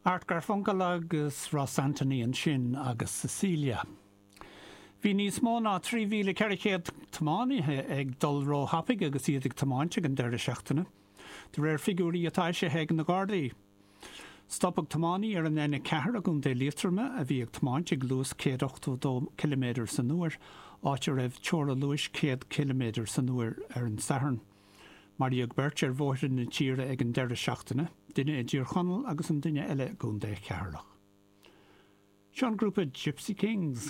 Art Garfunkel agus Ross Antony ansin agus Cecilia. Bhí níos mó ná 3,400 tiománaithe ag dul róthapaidh agus iad ag tiomáint ag an deireadh seachtaine, de réir figiúirí atá eisithe ag na Gardaí. Stopadh tiománaí ar an N4 i gContae Liatroma a bhí ag tiomáint ag luas 182 ciliméadar san uair, áit a raibh teora luais 100 ciliméadar san uair ar an Satharn. Maraíodh beirt ar bhóithre na tíre ag an deireadh seachtaine, duine i dTír Chonaill agus an duine eile i gContae Cheatharlach. Seo an grúpa Gipsy Kings.